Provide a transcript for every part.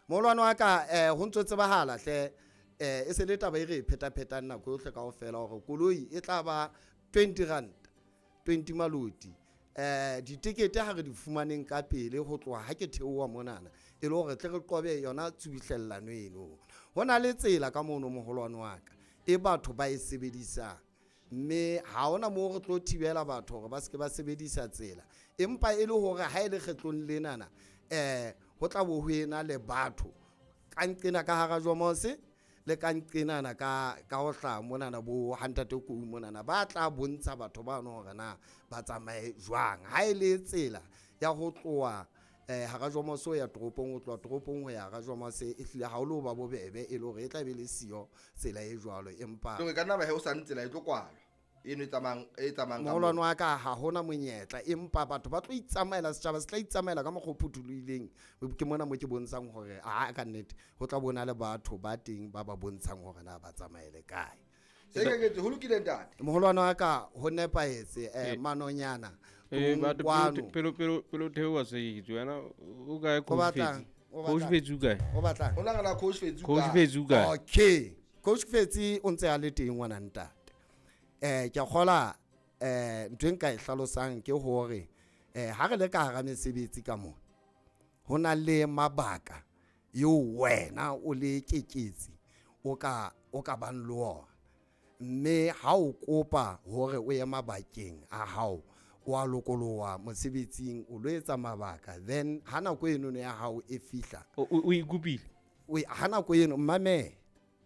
Moholwane wa ka ho ntso tsebahala hle e se le taba e re e phetaphetang nako yohle kaofela hore koloi e tla ba 20 rand 20 maloti. Ditekete ha re di fumaneng ka pele ho tloha ha ke theoha monana e le hore tle re qobe yona tshubuhlellano eno. Ho na le tsela ka mono moholwane wa ka e batho ba e sebedisang, mme ha hona moo re tlo thibela batho hore ba seke ba sebedisa tsela, empa e le hore ha e le kgetlong lenana ho tla bo ho ena le batho ka nqena ka hara Jomose le ka nqenana ka ho hlaha monana bo hantate kou monana ba tla bontsha batho bano hore na ba tsamaye jwang. Ha e le tsela ya ho tloha hara Jomose ho ya toropong, ho tloha toropong ho ya hara Jomose e hlile ha o lo ba bobebe, e le hore e tla be le siyo tsela e jwalo. Empa e ka nna ba he o sa tsela e tlo kwalwa eno e tsamayang moholwane wa ka ha hona monyetla, empa batho ba tlo itsamaela, setjhaba se tla itsamaela ka mokgwa o phuthulohileng. Ke mona mo ke bontshang hore a ka nnete ho tla bona le batho ba teng ba ba bontshang hore na ba tsamaele kae. Se ke ho lokile ntate. Moholwane wa ka ho nepahetse manonyana. Pelo theoha se itse wena o kae coach Fetsi? Coach Fetsi o kae? O batlang? O nagana coach Fetsi o kae? Coach Fetsi o kae? Okay. Coach Fetsi o ntse a le teng ngwana ntate. Ke a kgola ntho e nka e hlalosang ke hore ha re le ka hara mesebetsi ka mona ho na le mabaka eo wena o le keketsi o ka bang le ona, mme ha o kopa hore o ye mabakeng a hao o a lokoloha mosebetsing o lo etsa mabaka, then ha nako eno ya hao e fihla o ikopile ha nako eno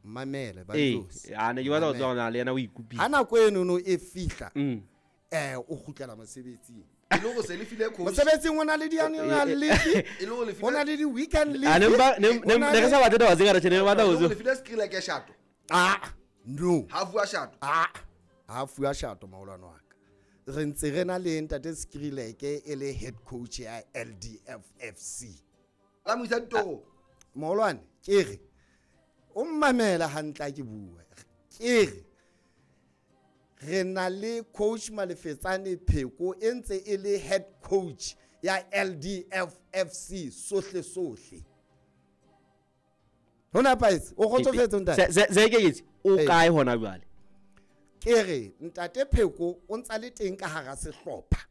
mamele ba tlosi a ne ke batla ho tswa le yena o ikopile ha nako eno no e fihla o kgutlela mosebetsing. E le hore se le file coach mosebetsing o na le di-annual leave, o na le di-weekend leave. Ne re sa batle taba tse ngata tjhe, ne re batla ho le file screen ke shato. No ha fuwa shato, ha fuwa shato maholwane wa ka. Re ntse re na le ntate Skrileke e le head coach ya LDF FC. La mo isa ditoro moholwane ke re o mmamela hantle ha ke bua. Ke re re na le coach Malefetsane Pheko e ntse e le head coach ya LDF FC sohle sohle. Hona paetse o kgotsofetse ntate. Se ke itse o kae hona jwale? Ke re ntate Pheko o ntsa le teng ka hara sehlopha.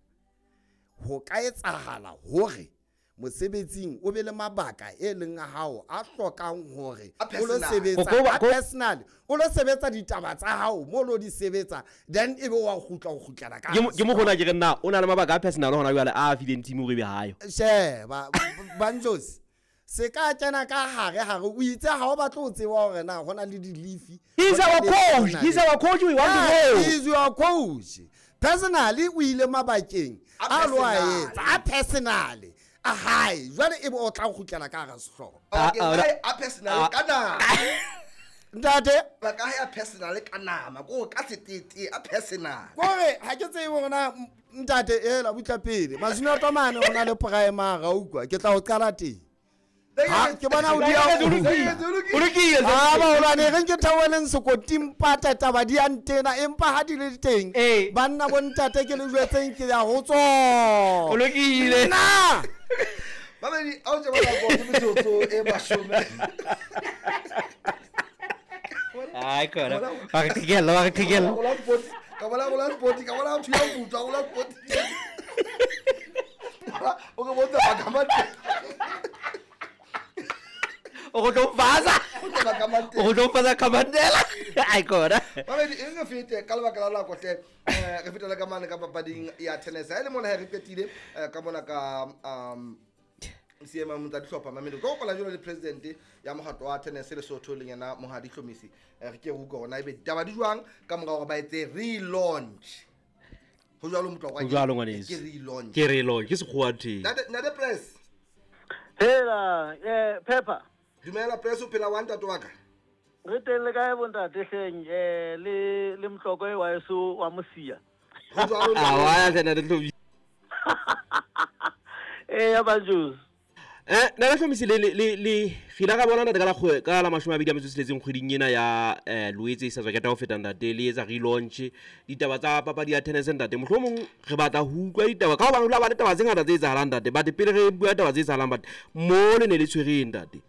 Ho ka etsahala hore mosebetsing o be le mabaka e leng a hao a hlokang hore o lo sebetsa a personal, o lo sebetsa ditaba tsa hao mo lo di sebetsa, then ebe wa kgutla o kgutlela ka ke mo gona ke re nna o na le mabaka a personal hona jwale a fileng team hore be hayo. Sheba Banjosi se ka kena ka hare hare o itse ha o batla ho tseba hore na hona le di-leave. He's our coach, he's our coach, we want to know. He's your coach. Personally o ile mabakeng a lo a etsa a personally a hae jwale e bo o tla kgutlela ka hara sehlopha. Okay, a personal ka nama. Ntate ba ka ya personal ka nama ko ka setete a personal. Kore ha ke tsebe hore na ntate ela butla pele masino tomane o na le primary a utlwa ke tla o qala teng. Ha ke bona o dia o lokile. Ah baholwane re nke thaoheleng sekoting pata taba di a ntena, empa ha di le teng banna bo ntate ke le jwetseng ke ya ho tswa. O lokile. Nna babedi a o tseba nako ke metsotso e mashome. Ai kora ba re qhekella, ba re qhekella. Ka bona gola sport, ka bona thuya putswa gola sport. O re botsa ba ka mate. O tlo faza. O tlo faza Kamandela. Ai kora. Babedi e re fete ka lebaka la nako hle re fetela ka mane ka papading ya tennis. Ha e le mona ha re qetile ka mona ka seema motsa dihlopha mamelo. Ke kopa jalo le president ya mokgatlo wa tennis Lesotho le yena Mohadi Hlomisi. Re ke utlwa hore na ebe ditaba di jwang ka mora hore ba etse relaunch. Ho jwalo motlo wa ke relaunch. Ke relaunch ke sekgowa teng. Ntate Press. Hela Pepper. Dumela Press o phela wa ntate wa ka. Re teng le kae bontate hleng le Mhloko e wa eso wa Mosia. Ho jwalo. A wa tsena le Hlomisi. Ya Banjos. Nna Hlomisi le re ile ra bona ntate ka la ka la 26 kgweding ena ya Loetse e sa tswa keta ho feta ntate le etsa relaunch ditaba tsa papadi ya tennis ntate. Mohlomong re batla ho utlwa ditaba ka hobane ho la ba le taba tse ngata tse etsahalang ntate, but pele re bua taba tse etsahalang but mo le ne le tshwereng ntate.